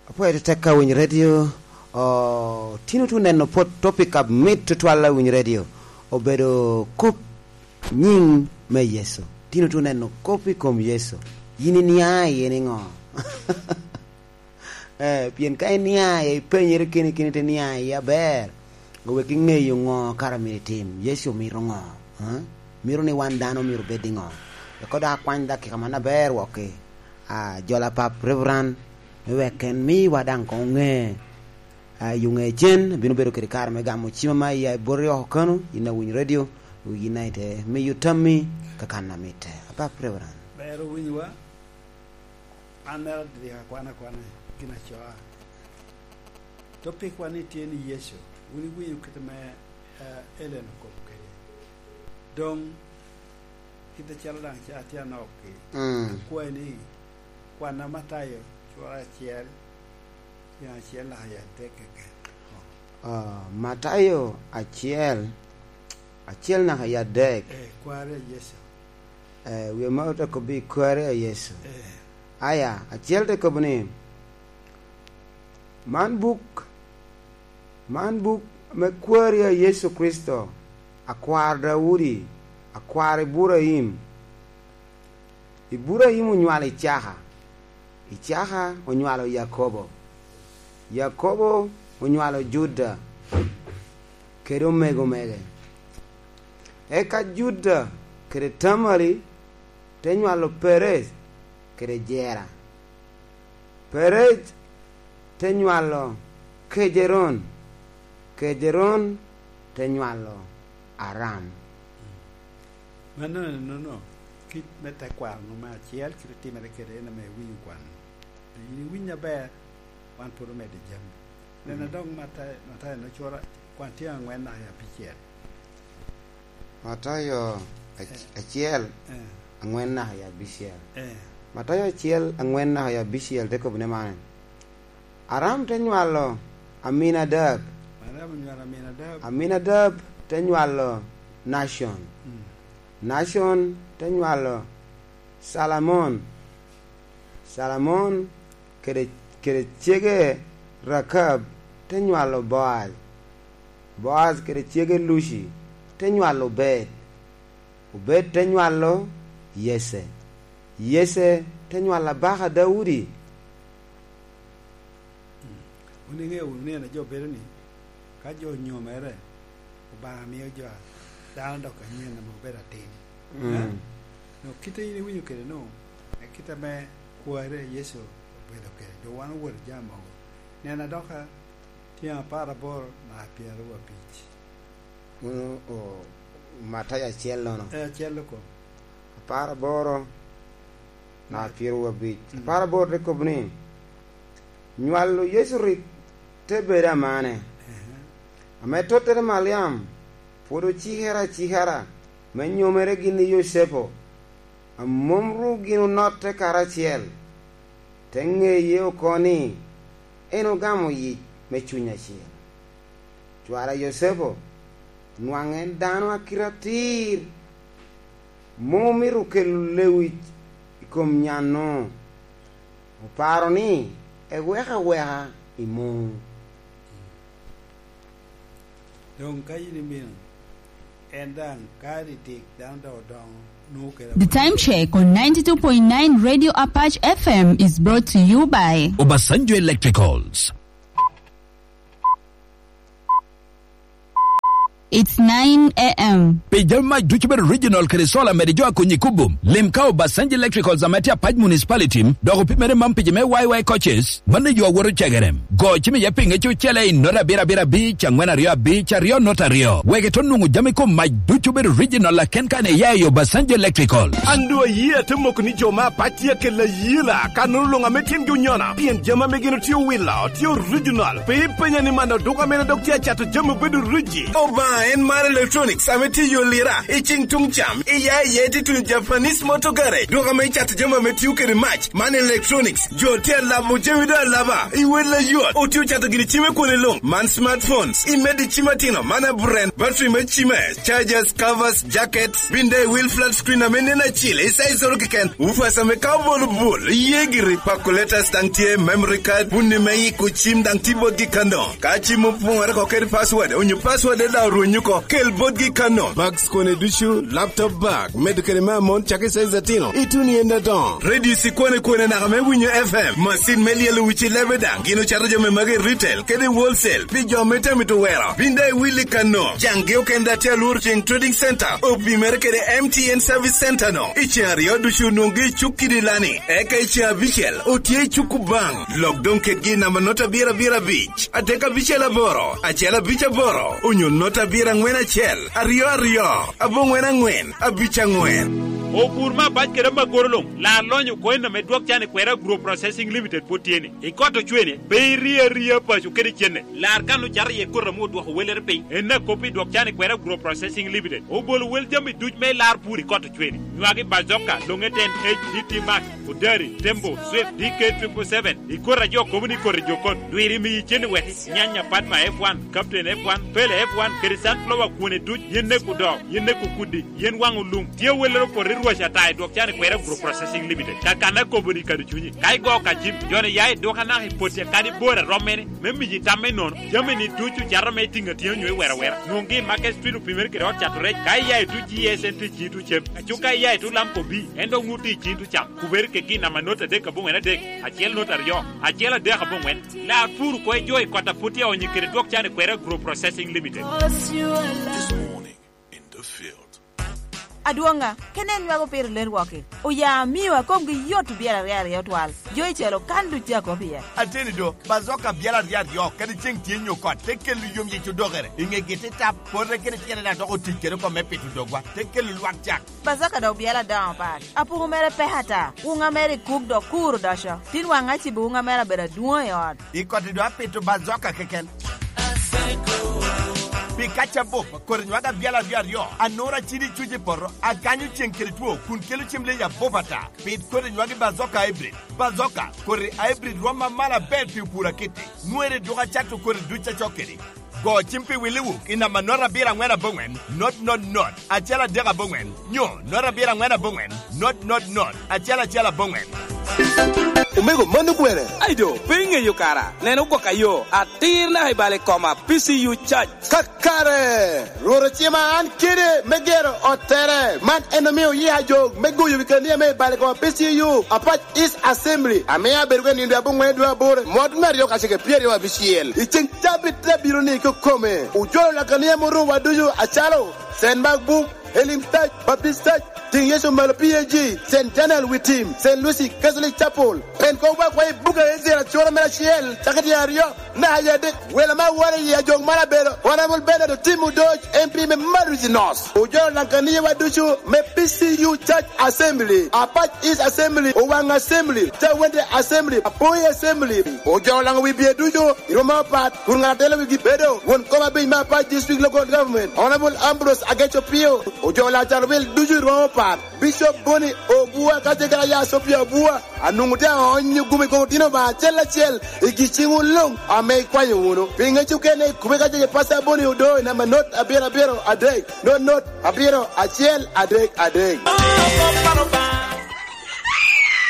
Apwoyo tetek ka winyo radio tino tu neno pwod topic ab mit tutwal a winyo radio obedo kop nying me Yecu tino tu neno kop i kom Yecu yin iniang iye ni ngo ee pien ka iniang iye ipenyere keni keni te niang iye aber owek ingeyo ngo kara myero itim Yecu mito ngo mito ni wan dano myero obed ni ngo wek ko dok akwany dakika man aber wok-ki Jola pap Reverend me wek en miwa dang kong onge i onge cen bino bedo kede kare me gamo cima ma iya boti oko keno in awiny radio in aye miyo tammi ka kan na mitte. Apap Reverend. Ber owinyowa, an mera adyek akwana akwana gin acoa. Topic wa ni tye ni Yecu, wun iwinyo kite me Ellen okobo kede. Dong Kite calo dang ca atye anok-ki, akwayi ni kwanna Matayo cura acel tyen acel naka i adek keken. Matayo acel, acel naka i adek. Ee, kwari a Yecu. Ee, wiye ma ote kobo i kwari a Yecu. Ee. Aya, acel te kobo ni, Man buk, man buk me kwari a Yecu Kricito, Akwar Daudi, akwar Iburaim. Iburaim onywalo Icaka, Icaka onywalo Yakobo, Yakobo onywalo Juda kede omego mege. Eka Juda kede Tamari te nywalo Perej kede Jera. Perej te nywalo Kejeron, Kejeron te nywalo Aram. Meno enono kit me tekwaro-nu me acel kit otimere kwede en aye iwinyo kwan-nu. Dong in iwiny maber, wan pud omedo i jami. Nena dong Matayo nocura kwan tyeng angwen naka i abicel. Matayo acel angwen naka i abicel. Matayo acel angwen naka i abicel te kobone man. Aram te nywalo Aminadab, Aminadab te nywalo Nacon, Nacon te nywalo Calamon, Calamon kede cege Rakab te nywalo Boaj, Boaj kede cege Luci te nywalo Obed, Obed te nywalo Yece, Yece te nywalo abaka Daudi. Wun ingeyo wunu nino jo bedo ni, ka jo onyomere, Obanga miyo jo dano dok anyen ma obedo atin. Nongo kite in iwinyo kwede nongo e kite me kware Yecu obedo kwede. Dong wan owoto jami mogo. Nena doka tyeng aparaboro naka pyeraryo abic. Matayo acel nono. E acel loko. Aparaboro. Naka pyerawic aparaboro te kobo ni, Nywalo Yecu rik te bedo amane. Ame tottere Maliam pwod ocikere acikara me nyomere gin i Yocepo, amom ru gin onotte karacel, te ngeye oko ni en ogamo yic me Cuny Acel. Cwara Yocepo nwang en dano akite atir. Mo mito kelo lewic i kom nyanno, oparo ni ewek aweka i mung. Dong ka in imino en dang ka didik dano dok odongo nongo kelo The awene Time Check on 92.9 Radio Apache FM is brought to you by. Obasanjo Electricals. It's 9 AM. Pi jami mac ducu bedo regional kede solar medo ijo akonyi kubu. Lim ka Obasanjo Electricals ame tye Apac Municipality dok opimere mam pici me YY Coaches ma ne yo awoto cegere. Go cim iye pinge ci ocele i note abiro abiro abic angwen aryo abic aryo note aryo wek ito nongo jami kom mac ducu bedo regional laken ka ne iya i Obasanjo Electrical. An dong ayie ate moko ni jo ma apac tye kelo ayela ka nono longa me tyengi onyona pien jami ame gin otye wilo tye original. Pe ipenya ni man aduka mene dok tye acato jami obedo origi. Obanga. En Mar Electronics ame tye i yo lira i cing tung cam iya iye tye tun Japanese Motor Garage duka me cato jami ame tiyo kede mac man electronics jo tye alabo jami do alaba i wel layot otiyo cato gini cime kwone lung man smartphones i med i cim atino man abren battery me cime chargers covers jackets binde i wil flat screen ame nen acil i size oro keken woofers ame kao bol bol iye giri calculators dang tye memory card puni me yiko cim dang tye botgi kano. Ka cim opwongore ko kede password onyo password eda orwenyo ko, kel botgi kano. Bags kone ducu, laptop bag, medo kede me amon cake size atino, ituni en adongo. Radio ci kwane kwene naka me winyo FM, macin me lyelo wic i lebe dang gin ocato jami magi i retail kede i wholesale pi jo me te mito wero. Bin dong iwilli kano. Jang gi okene da tye alworo ceng Trading Center opimere kede MTN Service Center no. I ceng aryo ducu onongo gi i cuk kidi lani eka i ceng abicel otye i cuk kubang. Lok dong ketgi i namba not abiro abiro abic, adek abicel aboro, acel abic aboro, onyo not abiro angwen acel, aryo aryo, abongwen angwen, abic angwen. Opur ma abac kede magoro long lar lonyo koino me dwok can i Kwera Agro Processing Limited pwod tye ni i kot ocwene pe iriyo ariya paco kede cene lar kan ocato iye kota mu odwoko welere piny en akopi i dwok can i Kwera Agro Processing Limited obolo wel jami duc me lar pur i kot ocwene nywagi bazoka longe ten H DT Max Odari, Tembo, Swift, DK Triple Seven, i kota jo kobo ni koti jo kot, dwiri miyi cen weki, nyanya Padma F1, Captain F1, Pele F1, kede Sunflower kwone duc, yen neko doo, yen neko kudi, yen wango lum, tye welero poti rwac ata i dwok can i Kwera Agro Processing Limited, ka kana kobo ni kado cwinyi, ka igo ka cim, joni ya i duka naka i poti kadi bor arom mene, me miyi tam me nono, jami ni duc ocato me itingo atinga nyo iwero awera, nwongi i Market Street opimere kede ot cato rec, ka iya i tuc GSNT ci tu cem. Acuka iya i tulam kobi, en dong nguti i cin tucam, kuberi ke gin nama not adek abongwen adek, acel not aryo, acel adek abongwen. Lar pur kwe jo i kota pud tye onyi kede dwok can i Kweri Agro Processing Limited. This morning in the field. Adwonga, ke nen nywako piro ler woki, oya miwa komgi yot byera aryo aryo twal, jo icelo kan duc tye akop iye. Ateni do, bazoka byera aryo aryo kadi ceng tye nyo kot, te kelo yom yec odokere i nge giti tap. Pote kede tyene dok doko tic kede kom me pito dogwa, te kelo lwak cak. Bazaka dok byela adongo pat. Apuku mere peke ata, wunga mere i kuk dok kur odoco. Tin wanga acibo wunga mere abedo adwong i ot. I koti dong apito bazoka keken. Pi kac abup, kodi nywag abyela aryo aryo, anura cidi cuc i poto, akanyo ceng kede two kun kelo cem leyi abup ata. Pit kodi nywagi bazoka hybrid. Bazoka, kodi hybrid rwom ma malo aber pi opur akiti. Nwere duka cato kodi duc acok kedi. Go cim pi williwu i namba not abiro angwen abongwen not not not acel adek abongwen nyo not abiro angwen abongwen not not not acel acel abongwen. Omego mano kwene? Ai do, pe ingeyo kara, neno gwoka yo atir naka i bal i koma, PCU Church. Kakare! Rwot ocima an kede me gero ot tere. Man en omiyo yiya jog me goyo wi kania me i bal i koma PCU, Apac East Assembly. Amiyo abedo ka nindo i abongwen dwe aboro, mot me aryo kacel ki pyeraryo abicel. I ceng cabit te bino ni kikome, ojolo lakania murumo wa ducu acalo, Cent Mark Book, Elim Church, Baptist Church, Ting Yecu Malo PAG, Cent Daniel Wi Tim, Cent Lucy Catholic Chapel, Pen kong wek wa i buk Ezira cura mere acel cake tyen aryo me aye adek. Welo ma aworo i ajog man abedo Honourable Bernard Otim Odoc, MP me Maruzi North. Ojolo lankaniye wa ducu me PCU Church Assembly, Apac East Assembly, Owang Assembly, Tawente Assembly, Apoi Assembly. Ojolo lango wibye ducu i rwom mapat kun ngat atelo wigi bedo won kom abic me Apac District Local Government, Honourable Ambrose Ageco Pio. Ojolo acat wil ducu i rwom mapat. Bicop Boni Obua kacel ki Aya Sophia Obua anongo tye aonyo gum i kom otino ba acel acel i gi cingwu lung ame ikwanyo wunu. Pi ngec okene ikube kacel ki Pastor Boni Odo i namba not abiro abiro adek not not abiro acel adek adek.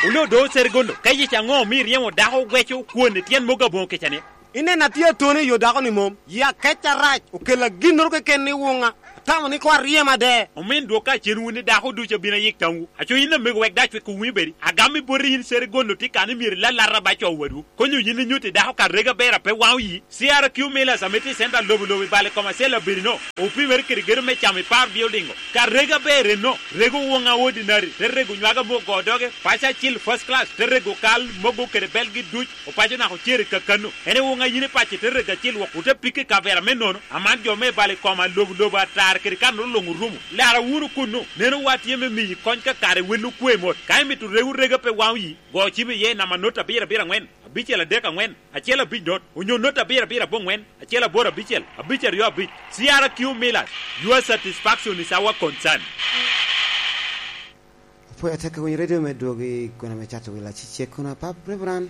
Onongo do Sergondo, ka yec ango mi iryemo dako gweco kwon i tyen mogo abongo kica-ni? Ineno atye atone i yo dako-ni mom? Ya kec arac okella ginnoro keken ni wunga, atamo ni ko aryem ade. Omin dwok ka acenwu ni dako ducu abino ayik tamwu. Aco in lamego wek dac wek owinyi bedi. Agammi boti in Serigondo tye kani myero ilalata ba co wadwu. Konyo yin inyuti dako ka rega bera pe wango yi. CRQ Millers ame tye i central lobo lobo i bal i kom acel abedi no. Opimere kede gedo me camo i par building go. Ka rega ber eno, rego wonga ordinary te rego nywaga mo go doge, paco acil first class te rego kal mogo kede belgi duc. Opaco naka ocer i kakanu. En aye wonga in ipace te rego acel woko wute pike i kavera me nono. Aman jo me balo i koma lobo lobo atar kede kan olongo orumo. Lara wunu kunnu. Neno wa tye me miyi kony ka kare wel okwe mot. Ka imito rego rega pe wango yi, go cim iye i namba not abiro abiro angwen. 5 3 4 1 5 0 onyo 0 7 7 8 1 8 6 5 2 5. CRQ Millers, your satisfaction is our concern. Apwoyo atek ka winyo redio me dwogi kwena me cato wil acicek kono apap Reverend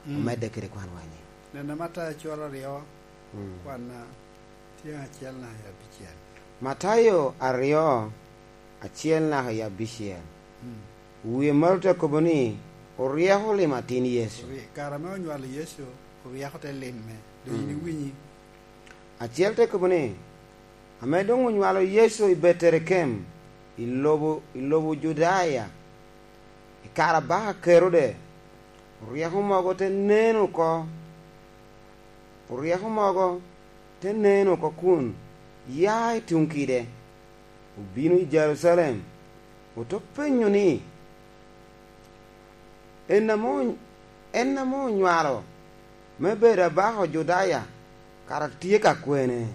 omedde kede kwan wa anyim. Neno Matayo coro aryo, kwana tyeng acel naka i abicel. Matayo aryo, acel naka i abicel. Wiye malo te kobo ni, Oryeko limo atin Yecu. Kare me onywalo Yecu, oryeko te lime. Dong in iwinyi? Acel te kobo ni, Ame dong onywalo Yecu i Beterekem, i lobo, i lobo Judaya, i kare abaka Kerode, oryeko mogo te nen oko, oryeko mogo te nen oko kun ya i tung kide, obino i Jerucalem, oto penyo ni, En en ame onywalo me bedo abaka Judaya kara tye ka kwene?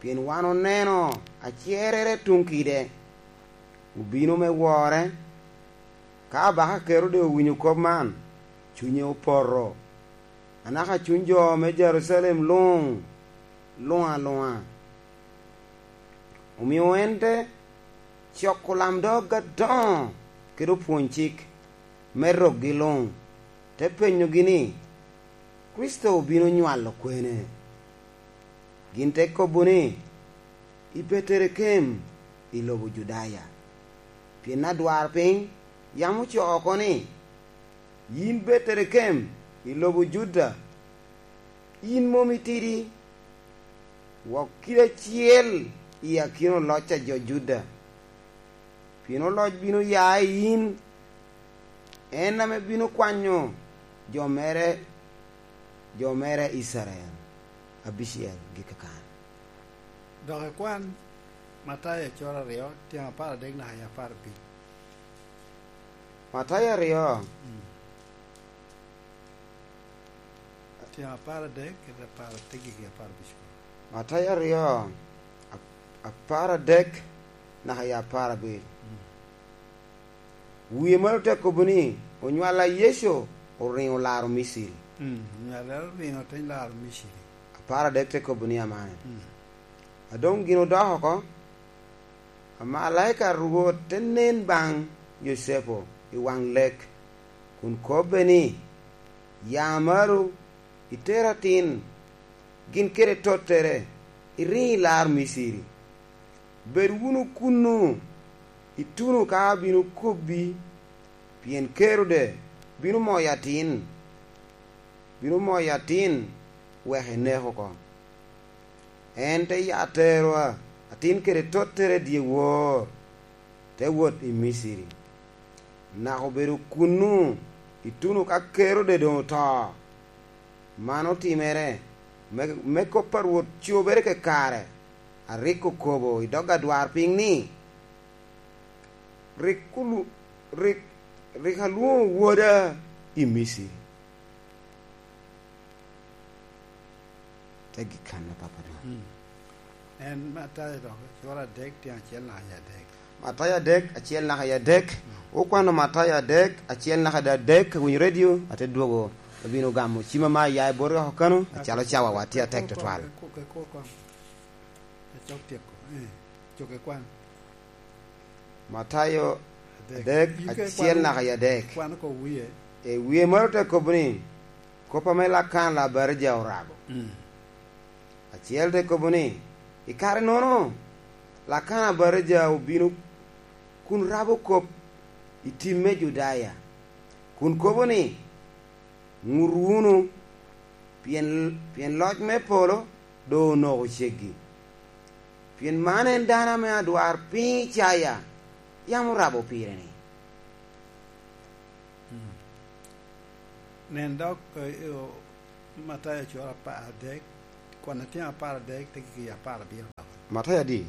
Pien wan oneno acerere tung kide, obino me wore. Ka abaka Kerode owinyo kop man, cwinye opoto, anaka cwiny jo me Jerucalem lung lung alunga. Omiyo en te coko lamdog adongo kede opwony cik me rokgi lung, te penyogi ni, Kricito obino nywalo kwene? Gin te kobo ni, I Beterekem i lobo Judaya. Pien adwar piny yam ocoo oko ni, In Beterekem i lobo Juda, in mom itidi wok kit acel i akina oloc ca jo Juda, pien oloc bino ya i in, en ame bino kwanyo jo mere, jo mere Icrael abicel gikakan. Dok ikwan Matayo coro aryo tyeng 13 naka i 15. Matayo aryo. Tyeng 13 ki 15. Matayo aryo, 13 naka i 15. Wiye malo te kobo ni, Onywala Yecu oringo laro Miciri. Onywala oringo te laro Miciri. 13 te kobo ni amane. Adong gin odok oko, amalaika Rwot te nen bang Yocepo i wang lek, kun kobbe ni, Ya malo, iter atin, gin kede tottere, iring ilar Miciri. Bed wunu kunnu ituno ka abino kobbi, pien Kerode bino moyo atin, bino moyo atin wek enek oko. En te ya tero atin kede tottere dyewor, te wot i Miciri. Naka obedo kunnu ituno ka Kerode dong oto. Man otimere me kop pa Rwot cobere kekare, ariko kobo i dog adwar piny ni, Rik alwongo woda i Miciri. Te gikana papa dong. En Matayo dok cura adek tyen acel naka i adek. Matayo adek acel naka i adek. Wukwano Matayo adek acel naka i adek winyo redio ate dwogo obino gamo cima ma ayaye bot woko kano acalo cawa wa tye atek twatwal. Matayo adek acel naka i adek. E wiye malo te kobo ni Kopa me Lakan Labarija orabo. Acel te kobo ni, I kare nono, Lakan Abarija obino kun rabo kop i tim me Judaya, kun kobo ni, Ngut wunu, pien loc me polo dong onoko ceggi. Pien man en dano ame adwar piny Icaya yam orabo pire-ni. Nen dok Matayo cura 13, kwan tyeng 13 te ki 17 dok. Matayo adi?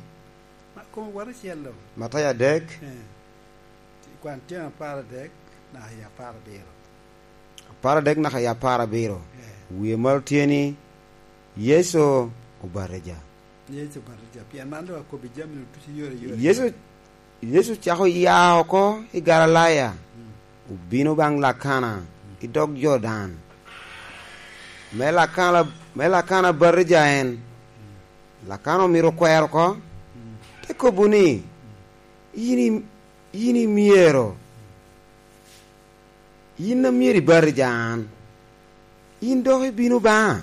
Ma kome wot acel dong. Matayo adek. Kwan tyeng 13 naka i 17. 13 naka i 17. Wiye malo tye ni Yecu obatija. Yecu obatija. Pien man dong akobi jami-ni ducu yore yore. Yecu ocako ya oko i Galilaya, obino bang Lakana. i dog Jordan, me Lakana batija en. Lakana omito kwero oko, te kobo ni, In imyero, in na myero ibatija an, in dok ibino banga?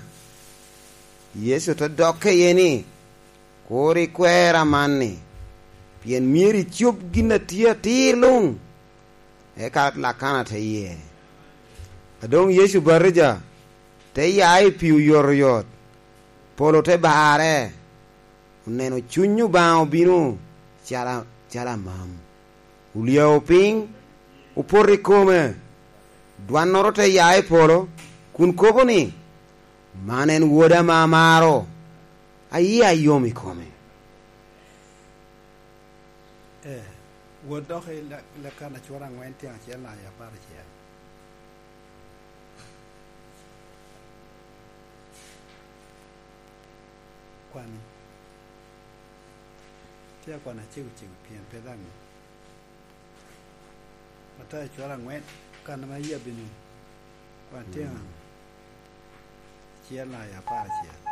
Yecu te dokke iye ni, Kur ikwera man-ni, pien myero icob gin na tye atir lung. Eka Lakana te ye. Ka dong Yecu batija, te ya i pii oyotoyot, polo te barre, oneno Cwiny Obanga obino calo amam, olyao piny, opoto i kome. Dwannoro te ya i polo, kun kobo ni, Man en Woda ma amaro, aye ayom i kome. Ee, wot dok i Lakana cura angwen tyen acel naka i aparacel. Kwani. Tye akwana cego cego pien pe dang Matayo cura angwen kana ma iya bino kwan tyen acel naka i aparacel.